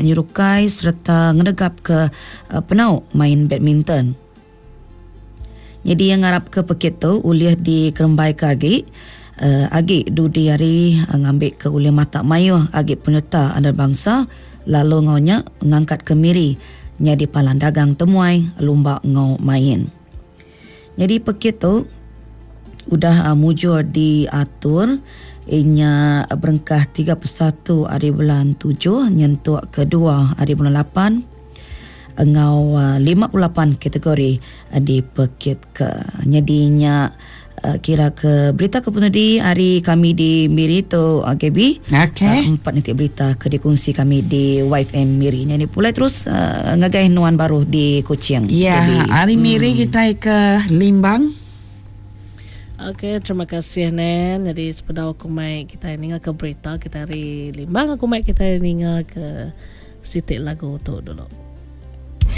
nyerukai sereta ngenegapka penau main badminton. Nyadi iya ngarapka pekit tu ulih dikerembaika agi agi dudi hari ngambika ulih matak mayuh agi penyereta antarabangsa lalu enggau nya ngangkatka Miri nyadi palan dagang temuai lumba enggau main. Nyadi pekit tu udah mujur diatur inya berengkah 31 ari bulan tujuh nyentuk ke dua ari bulan lapan enggau 58 kategori dipekitka. Nyadi nya kira ke berita ke penudi ari kami di Miri tu Gaby. Okay. Empat niti berita ke dikunsi kami di YFM Miri. Nyadi pulai terus ngagai nuan baru di Kuching. Ya, Gaby. ari Miri kitai ke Limbang. Okey, terima kasih Nen. Jadi sepedau aku mai kitai ninga ke berita kitai ari Limbang aku mai kitai ninga ke siti lagu tu dulu.